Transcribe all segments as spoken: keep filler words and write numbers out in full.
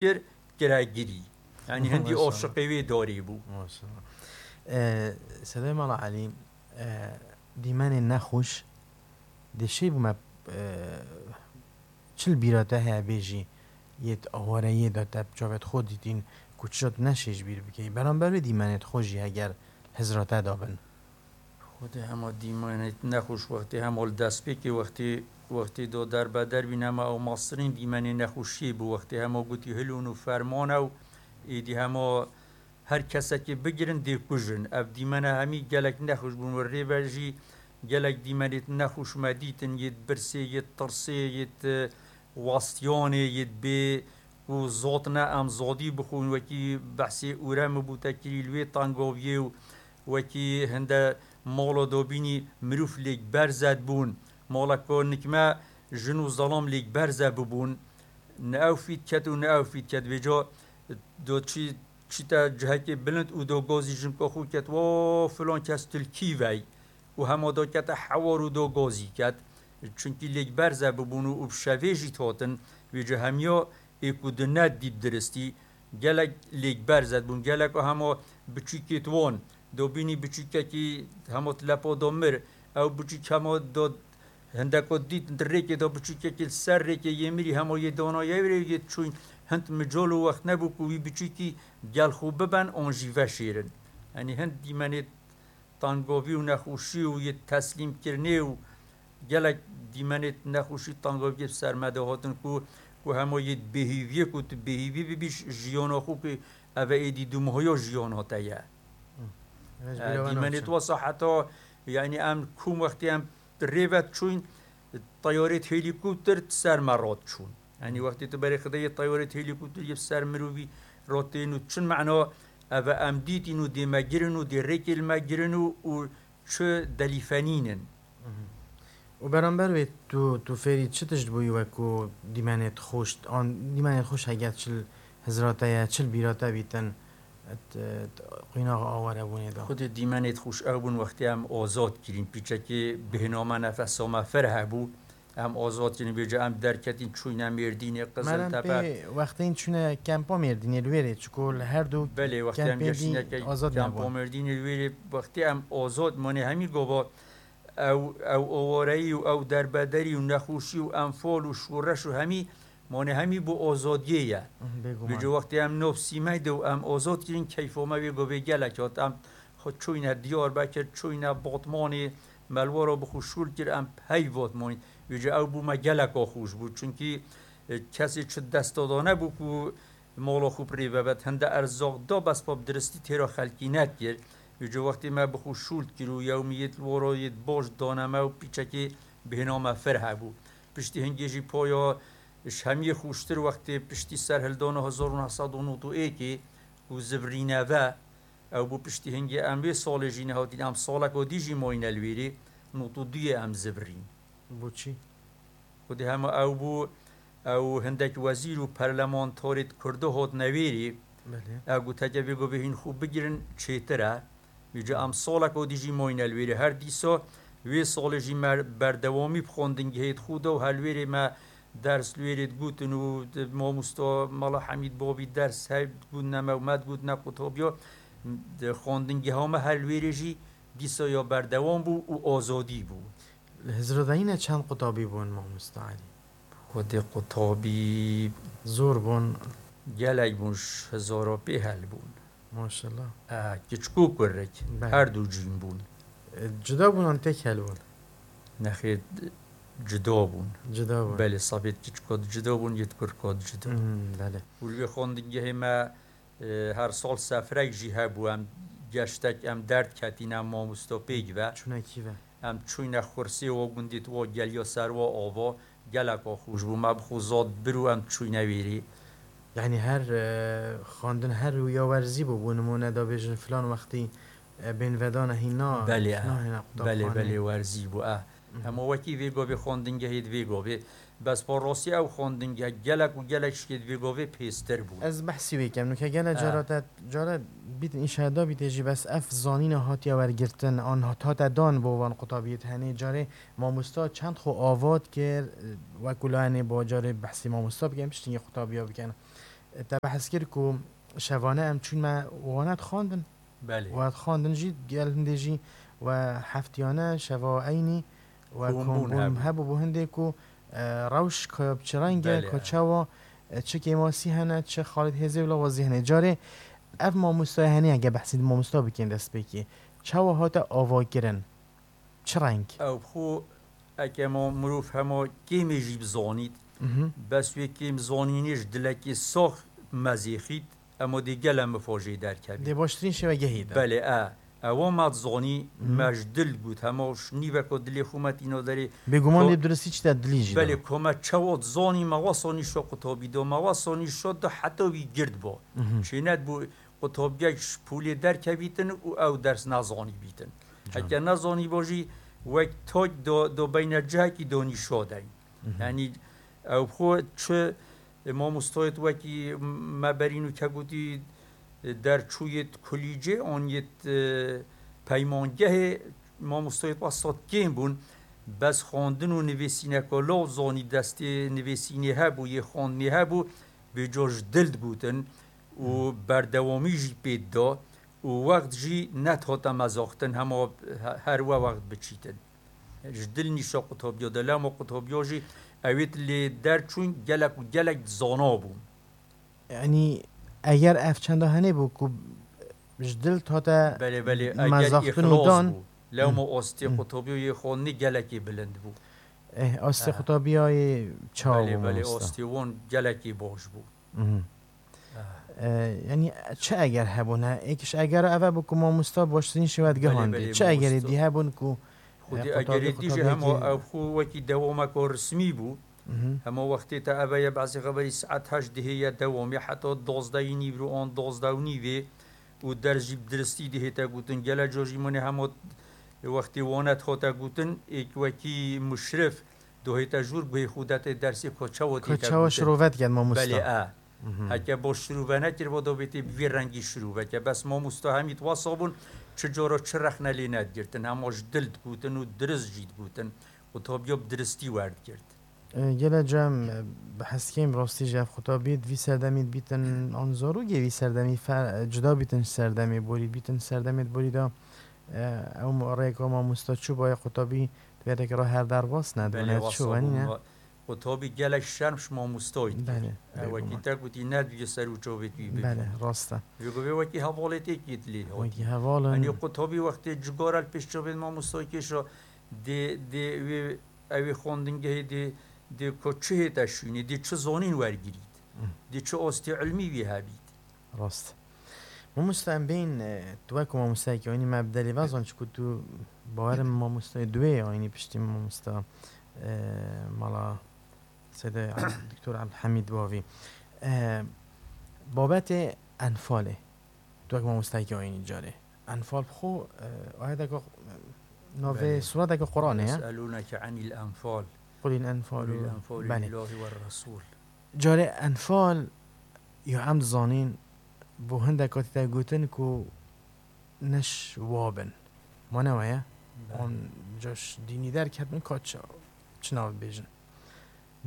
kir, kire girî. Yanî hindî Maşallah. Aşiqê wê darê bû. Maşallah. E, Sedayê Mala Elî, e, dîmenên nexweş dê şê bûme, e, çil bîra te heye bêjî yêt awareyê de te bi çavêt xwe dîtîn ku çi jot neşê ji bîr bikey. Beramber wê dîmenêt xwe jî heger hizra te de bin. Xwedê hema dîmenê nexweş wextê hema li destpêkê wextê, wextê do derbeder bîn hema ew mastirîn dîmenê nexweşiyê bû wextê hema gotî hilûn û ferman ew êdî hema her kesekê bigirin dê kujin. Ev dîmene hemî gelek nexweş bûn û rêve jî gelek dîmenêt nexweş me dîtin yêt birsê, yêt tirsê, yêt, e, wastiyanê, yêt bê ku zotine em zodî bixwin wekî behsê ûremi bû te kirî li wê tangoviyê û wekî hinde mala dobînî mirov lêk berze dibûn. Mala ku nikme jin û zelam lêk berze bibûn. Ne ew fît ket û ne ew fît ket. Vêca do çî, çîte cihekê bilind û do gazî jinka xwe ket, "Wa filan kes tu li kî vey?" Û hema do kete hewar û do gazî ket. Çunkî lêk berze bibûn û, û bi şevê jî dihatin. Vêca hemiya ê ku di nedît diristî, gelek lêk berze dibûn, gelek hema biçûkêt wan, do bînî biçûkekî hema di lepa do mir, ew biçûk hema do hindeko dît di rêkê do biçûkekî li ser rêkê yê mirî hema yê dana yê wê yê çûn hind mical û wext nebû ku wî biçûkî gel xwe biben an jî veşêrin. Yanî hind dîmenê tangovî û nexweşî û yê teslîmkirinê û gelek dîmenê nexweşî tangoviyê bi ser me de hatin ku, ku hema yê bêhîviyê ku tu bêhîvî bibî ji-, jiyana xwe ku ev e êdî dûmahaya jiyana te ye. Hı. Ez E, bîra wan dîmenê naçim. Tu wesa heta, yanî em kom wextê em rêve çûn, teyarêt helîkopter ser me rat çûn. Yanî wextê tu berê xideyê teyarêt helîkopter yê ser mirovî rat tên û çin mena ev e em dîtîn û dê me girin û dê rêkê li me girin û, û çi delîfenînin. Mhm. Û beramber wê tu, tu fêrî çi tişt bûyî wek ku dîmenêt xweş, an dîmenêt xweş heger çil hizra te ye, çil bîra te bîtin, et, et, qînaxa awarebûnê de? Xwedê dîmenêt xweş ew bûn wextê em azad kirîn, pîçekê bêhna me nefesa me fireh hebû. Em azad kirin, vêca em derketin, çûyne Mêrdînê, Qiziltepe. Meren pê wextên çûne kempa Mêrdînê li wêrê, çiko li her du Belê, wextê em kempên dî geştine ke-, azad kempa nebûn. Mêrdînê li wêrê, wextê em azad mane hemî gava ew, ew awareyî û ew derbederî û nexweşî û enfal û şoreş û hemî mane hemî bo azadiyê ye. Mhm, bêguman. Vêca wextê em nav sîmey de û em azad kirin, keyfa me wê gavê gelek hat. Em xwe çûyne Diyarbekir, çûyne Batmanê, me li wara bi xwe şûl kir, em pey Batmanê. Vêca ew bû me geleka xweş bû. Çunkî, e, kesê çi desta da nebû ku mala xwe bi rê vebet. Hinde erzaq da bes pa bi diristî têra xelkî nekir. Vêca wextê me bi xwe şûl kir û yewmiyêt li wara yêt baş dane me û pîçekê bêhna me fireh hebû. Piştî hingê jî paya ji hemiyê xweştir wextê piştî serhildana hezar û neh sed û nod û êkê ku zivirîne ve, ew bû piştî hingê em vê salê jî nehatîn, em saleka dî jî mayîne li wêrê, nod û duyê em zivirîn. Bo çi? Xwedê hema ew bû, ew hindek wezîr û perlemantarêt Kurdo hotine wêrê. Belê. Ew goteke vê govê hîn xwe bigirin çêtir e. Vêca em saleka dî jî mayîne li wêrê. Her dîsa wê salê jî me berdewamî bi xwendingehê xwe da û her li wêrê me ders li wêrê digotin û di mamosta Mala Hemîd Babî ders hey digotine me û me digotine qutabiya. Di xwendingeha me her li wêrê jî dîsa ya berdewam bû û azadî bû. Li hizra de yine çend qutabî bûn, mamosta Elî? Xwedê qutabî Zor bûn. Gelek bûn, ji hezara pê hel bûn. Maşallah. E, kiçik û kurik, Belê. Her du cîn bûn. E, cuda bûn an tek hel bûn? Nexêr, cuda bûn. Cuda bûn. Belê, safêt kiçika di cuda bûn, yêt kurika di cuda. Hmm, belê. Û li wê xwendingehê me, e, her sal sefrek jî hebû, em geştek, em derdiketîn, em mamosta pêk ve. Çûne kî ve? Em çûyne xursê wa gundî, wa geliya ser wa ava, geleka xweş bû. Me bi xwe zad bir û em çûyne wêrê. Yanî her, e, xwendin her wî ya werzî bû, bû nimûne da bêjin filan wextî, e, bên vedane hîna, Belê, hîna, e. hîna Belê, qutabxanê. Belê, werzî bû, e. Mhm. Hema wekî vê gavê xwendingehê di vê gavê. Bes pa rastî ew xwendingeh gelek û gelek şikê di vê gavê pêstir bû. Ez behsî wê kem. Nuke gele E. cara te, cara bît înşaeda bîtê jî, bes ev zanîna hatiye wergirtin, an hat-, hate dan bo van qutabiyê te. Henê carê mamosta çend xwe avat kir, wekû layenê bo carê behsî mamosta bikin, piştî qutabîya bikin. Te behs kir ku şevane em çûn me wane dixwandin. Belê. We dixwandin jî gel hindê jî we heftiyane şeva eynî we Kombûn kombûn hebû. Hebû bo hindê ku, e, rewş ka bi çi reng e, Belê. Ka çawa, e, çi kêmasî hene, çi xalît hêzê û lawazî hene. Carê ev mamostayê henê hege behsî di mamosta bikin destpêkê. Çawa hate avakirin? Çi reng? Ew xwe eke ma mirov hema kêmê jî bizanît, Mhm. bes wê kêm zanînê ji dilekê sax mezêxît, ema dê gele mifa jê derkevî. Dê baştirîn şêwegehî de. Belê, e. Ewa me dizanî, Mhm. me ji dil got. Hema ji nîveka dilê xwe me tîna derê. Bêguman Ko-, dê bi duristî çi de dilî jî de. Belê, ko me çawa dizanî, me wesa nîşa qutabî da, me wesa nîşa da heta wî gird ba. Mhm. Çênet bû, qutabiyek ji polê derkevîtin û ew ders nezanî bîtin. Can. Heke nezanî ba jî wek tak do, do beyne cihekî do nîşa deyn. Mhm. Yanî ew xwe çi, e, mamostoyêt wekî me berîn û ke gotî, e, derçûyêt kulîcê an yêt, e, peymangehê mamostoyêt wesat kêm bûn. Bes xwendin û nivîsîneka law zanî destê nivîsînê hebû, yê xwendinê hebû, vêca ji dil digotin û berdewamî jî pê dida û wext jî nedihate mezaxtin hema he-, her we wext biçîtin. Ji dil nîşa qutabiya de, lewma qutabiya jî ewêt lê derçûn gelek û gelek dizana bûn. Yanî eger ev çenda henê bû ku ji dil tate Belê, belê, eger mezaxtin û îxlas dan. Bû. Lewma Hı. ostê Hı. qutabiya yê xwendinê gelekê bilind bû. Eh, ostê Ha. qutabiya yê çawa Belê, bû belê, mamosta? Ostê wan gelekê baş bû. Mhm. Ah. E, yanî çi eger hebûne? Êkiş eger eve bû ku mamosta baştirîn şêwe Belê, digihandê. belê, Çi egerê mamosta. dî hebûn ku, Xwedî e, egerê qutabî dî jî hema qutabiyekê ew xwe wekî dewameka resmî bû. Mhm. Hema wextê te eve ye bazî xeberî saet heşt dihê ye dewam ye heta dozdehî nîvro an dozdeh û nîvê û ders jî bi diristî dihê te gotin. Gele ca jî mine hema wextê wane dihate gotin, êk wekî muşrif dohê te jûr guhê xwe dete dersê ko çawa Ka tê te çawa gotin. şirove diket mamosta? Belê, e. Mhm. Heke bo şirove nekiribo, do bêtê bi vî rengî şirove ke. Bes mamosta hemî wasa bûn, çi cara çi rexne lê nedigirtin. Hema ji dil digotin û dirist jî digotin. Qutabiya bi diristî werdigirt. E, gele cem, e, bi heskêm rastî jî ev qutabî di vî serdemî dibîtin an zarokê vî serdemî fe-, cuda bîtin ji serdemê borî, bîtin serdemê borî de, e, ew mo-, rêka mamosta çû baye qutabî di vê rêkê re her derbas ne, Belê, dibûne wasa çû wenî ne? bûn. Qutabî gelek şerm ji mamostoyê dikir. Belê, E, wekî bêguman. te gotî, nedibî ser û çavêt wî bibîne. Belê, rast e. Vê go vê wekî hevalê tê kê dilê hatî. Wekî heval in. Yanî qutabî wextê cigara li pêş çavên mamostoyê kêşa dê, dê wê, ewê xwendingehê dê, dê ku çi hête şûnê, dê çi zonîn wergirît. Hı. Dê çi ostê ilmî wî hebît. Rast. Mamosta em bên, e, tu wek mamostayekî aynî me bi delê vezan, çiku tu bawerim mamostayê duwê ye aynî piştî mamosta, e, mala Seyde Doktor Abdulhamid Bavî. E, babetê Enfalê. Tu wek mamostayekî aynî carê. Enfal bi xwe, e, ayeteke, e, navê Belê. sureteke Qur'anê ye. Yes'elûneke anil enfal. Qulil enfal. Qulil enfal Belê. lillahi ve resul. Carê Enfal ya em dizanîn, bo hindek hatî te gotin ku neş wabin. Ma ne weye? Belê. An caş dînî derketin ka çi, çi nav bêjin.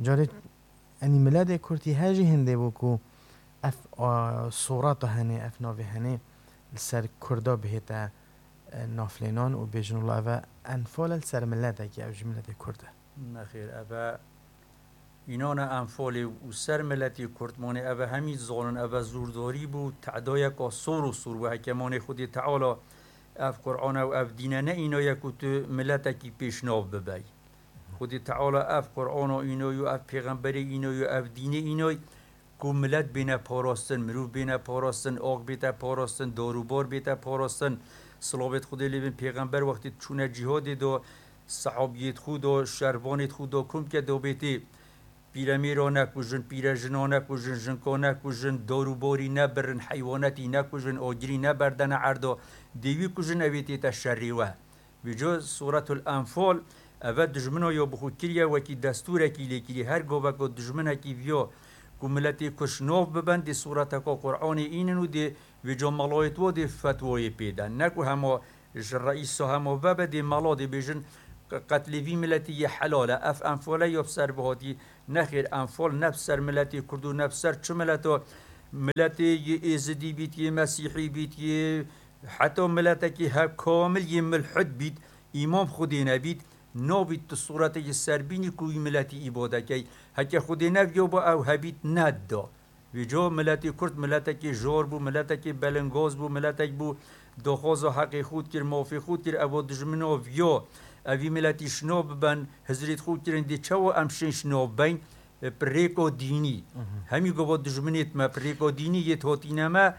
Carê enî miletê Kurd yê her jî hindê bû ku ev, a, sureta henê, ev navê henê li ser Kurda bihête, e, naflênan û bêjin wila ev e Enfal e li ser miletekî, ev jî miletê Kurd e. Nexêr, ev e Înana Enfalê û ser miletê Kurd manê, ev e hemî zanin, ev e zûrdarî bû, tedayeka sor û sor bû. Heke manê Xwedê Teala ev Qur'an e û ev dîne ne îna ye ku tu miletekî pêşnav bibey. Xwedê Teala ev Qur'ana îna yo, ev pêxemberê îna yo, ev dînê îna ye ku milet bêne parastin, mirov bêne parastin, ax bête parastin, dar û bar bête parastin. Silavêt Xwedê lê bin pêxember wextê çûne cîhadê de, sehabiyêt xwe de, şervanêt xwe de, kom ke de bêtê, pîremêra nekujin, pîrejina nekujin, jinka nekujin, dar û barî nebirin, heywanetî nekujin, agirî neberdene erda, dê wî kujin, ew ê tête şerê we. Vêca Sûretul Enfal, eve dijmina ya bi xwe kiriye, wekî destûrekî lê kiriye. Her gaveka dijminekî viya ku miletê Kurd şinav biben, dê sûreteka Qur'anê înin û dê vêca melayêt wa dê fetwayê pê den. Ne ku hema ji reîsa hema vebe, dê mela dê bêjin, qetlê vî miletî yê helal e. Ev Enfal e ya bi ser bihatî. Nexêr, Enfal ne bi ser miletê Kurd û ne bi ser çi mileta Miletê yê êzidî bît, yê mesîhî bît, yê heta miletekî hev kamil yê milhid bît, îman bi Xwedê nebît, nabît tu sûretekî serbînî ku wî miletî îbade key. Heke Xwedê neviya ba ew hebît nedida. Vêca miletê Kurd miletekê jar bû, miletekê belingaz bû, miletek bû daxwaza heqê xwe dikir, mafê xwe dikir, eva dijmina viya. Evî miletî şina biben, hizrêt xwe kirin, dê çawa em şên şina bibeyn? Bi rêka dînî. Hemî gava dijminêt me, bi rêka dînî yê hotîne me,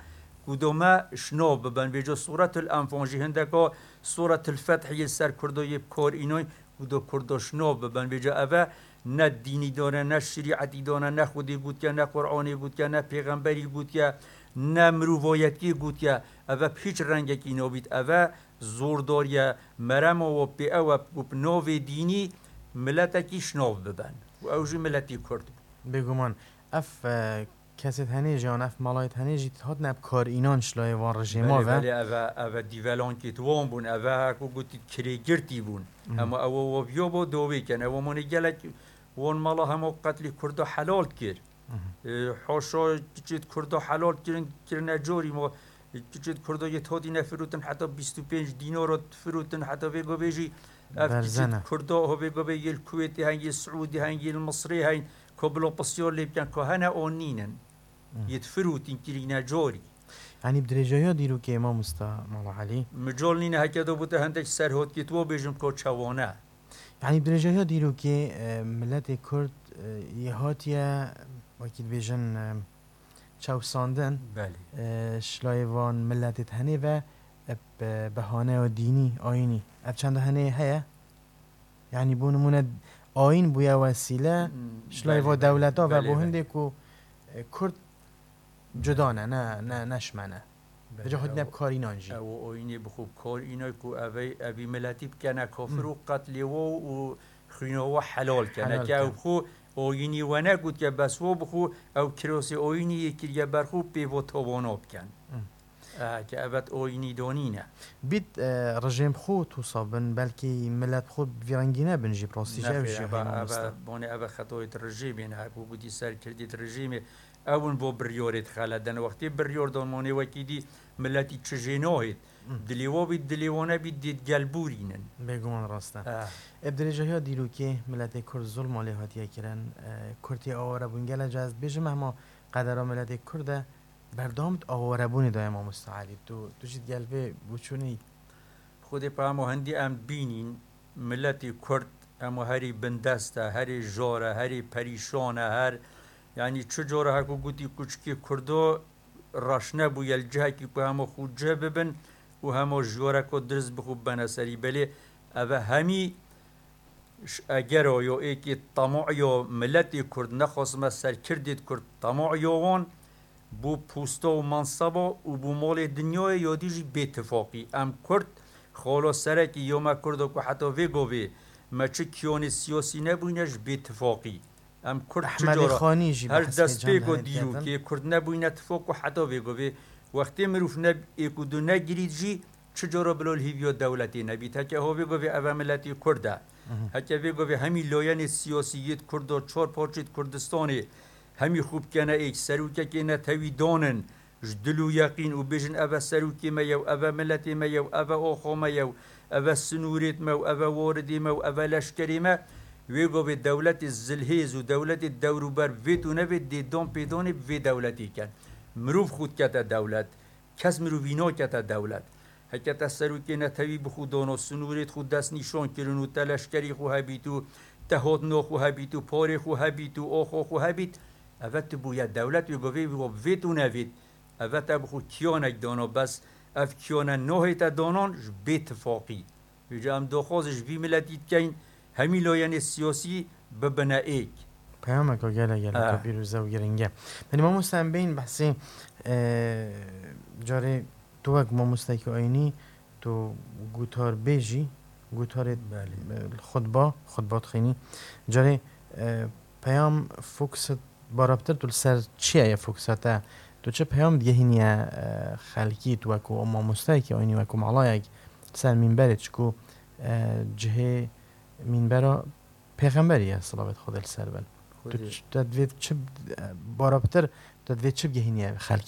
ku do me şina biben. Vêca Sûretul Enfal jî hindeka Sûretul Feth yê ser Kurdo yê bi kar înan, ku do Kurdo şina biben. Vêca eve ne dînî dane, ne şerîetî dane, ne Xwedê gotiye, ne Qur'anê gotiye, ne pêxemberî gotiye, ne mirovayetiyê gotiye. Eve bi hîç rengekî nabît. Eve zordariye, merema we pê ew e ku bi navê dînî miletekî şinav biben. Û ew jî miletî Kurd bû. Bêguman, ev, e, kesêt henê jî an ev malayêt henê jî hatine bi kar înan şilayê van rejêma Belê, ve. Belê, eve, eve dîvelankêt wan bûn, eve ku gotî kirêgirtî bûn. Mhm. Ema ew waviya bo dawê ken, ew mane gelek wan mala hema qetlî Kurda helal kir. Mhm. E, haşa kiçêt Kurda helal kirin, kirine corî ma, e, kiçêt Kurda yê todî nefirotin heta bîst û pênc dînara firotin heta vê gavê jî ev Berzene. Kiçêt Kurda ho vê gavê yê li Kuwêtê hen, yê Siûdî hen, yê li Misrê hen, ko bilo pisyar lê bikin, ko hene o nînin. Hmm. Yê difirûtin kirîne corî. Yanî bi dirêjahiya dîrokê mamosta Mala Elî. Mical nîne heke do bûte hindek serhotkî tu bêjim ko çawane. Yanî bi dirêjahiya dîrokê, e, miletê Kurd, e, yê hatiye, wekî dibêjin, e, çewsandin, Belê. E, şilayê van miletê tenê ve, e, bi behaneya dînî, ayînî. Ev çenda henê heye? Yanî bo nimûne ayîn bûye wesîle, Hmm, şilayê belê, va belê, dewleta ve belê, bo belê. Hindê ku, e, Kurd cuda ne, ne, ne, neşme ne. Belê, Vêca hotine ew, bi kar înan jî. Ew ayînê bi xwe bi kar înan ku evey, evî miletî bikene kafir Hmm. û qetlê we û xwîna we helal kene. Helal Ke ew ken. Xwe ayînî we negotiye, bes we bi xwe ew kirosê ayînî yê kiriye ber xwe pê ve tawana bikin. Hmm. E, ke evet ayînî donîne. Bît, e, rejêm xwe tusa bin, belkî milet xwe bi vî rengî nebin jî, bi rastî jî ew Nexêr, jî eve, heyna eve, mamosta. Bonê eve xetoyê rejêmê ne, ku gotî serkirdî rejêmê, ew in bo biryarê dixeleden. Wextê biryar dan monê wekî dî miletî çi jê nahêt. Hmm. Dilê wa bît, dilê wa nebît, dê gel bûrînin. Bêguman rast e. Eh. E, bi dirêjahiya dîrokê miletê Kurd zulma lê hatiye kirin. E, Kurtê aware bûn. Gele cez dibêjim hema qedera miletê Kurd e. Berdewam di awarebûnê de ye mamosta Elî. Tu, tu jî di gel vê boçûnê yî. Xwedê peyama hindî em bînîn, miletî Kurd, ema herî bindest e, herî jar e, herî perîşan e, her, yanî çi cara heko gotî kuçikê Kurdo reş nebûye li cihekî ku hema xwe cih bibin û hema ji wareko dirist bi xwe bibene serî. Belê eve hemî ji egera yo êkê tamayo miletê Kurd nexwasime serkirdêt Kurd tamayo wan, Bo posta û manseba û bo malê dinyayê ya dî jî bêtifaqî. Em Kurd, xala serekî ya me Kurda ku heta vê gavê me çi kiyanê siyasî nebûyne ji bêtifaqî. Em Kurd çi Ehmedê cara Xanî jî her behs vê destpêka candahî dîrokê dikin. Kurd nebûyne tifaq ku heta vê gavê wextê mirov ne êk û du negirît jî Çi cara bila li hîviya dewletê nebît. Heke ho vê gavê eve miletê Kurd e. Mhm. Heke vê gavê hemî layenê siyasî yêt Kurda çar parçêt Kurdistanê hemî xwe bikene êk serokekê netewî danin ji dil û yeqîn û bêjin eve serokê me yew, eve miletê me yew, eve oxo me yew, eve sinûrêt me û eve waridê me û eve leşkerê me. Wê gavê dewletê zilhêz û dewletê dewrûber vêt û nevêt dê dan pêdanê bi vê dewletê ken. Mirov xwe dikete dewlet. Kes mirovî nakete dewlet. Heke te serokê netewî bi xwe dano, sinûrêt xwe destnîşan kirin û te leşkerî xwe hebît û te hotno xwe hebît û parê xwe hebît û oxo xwe hebît, eve tu bûye dewlet wê govê wî wa bivêt û nevêt. Eve te bi xwe kiyanek dano, bes ev kiyane nahête danan ji bêtifaqî. Vêca em daxwazê ji vî miletî dikeyn, hemî layenê siyasî bibine êk. Peyameke gelek gelek Ah. pîroz e û giring e. Belê mamoste em bên behsê, e, carê tu wek mamostekî ayînî, tu gotarbêj î, gotarê, Belê. e, xutba, xutba dixwînî. Carê, e, peyam fokusit Barabtir tu li ser çi ye fokusa te? Tu çi peyam digehîniye, e, xelkî, tu wekû mamostayekî ayînî, wekû malayek li ser mînberê, çikû, e, cihê mînbera pêxemberî ye, silavêt Xwedê li ser bin. Tu Xwedê. ç-, te divê çi, e, barabtir Te divê çi bigehîniye xelkê?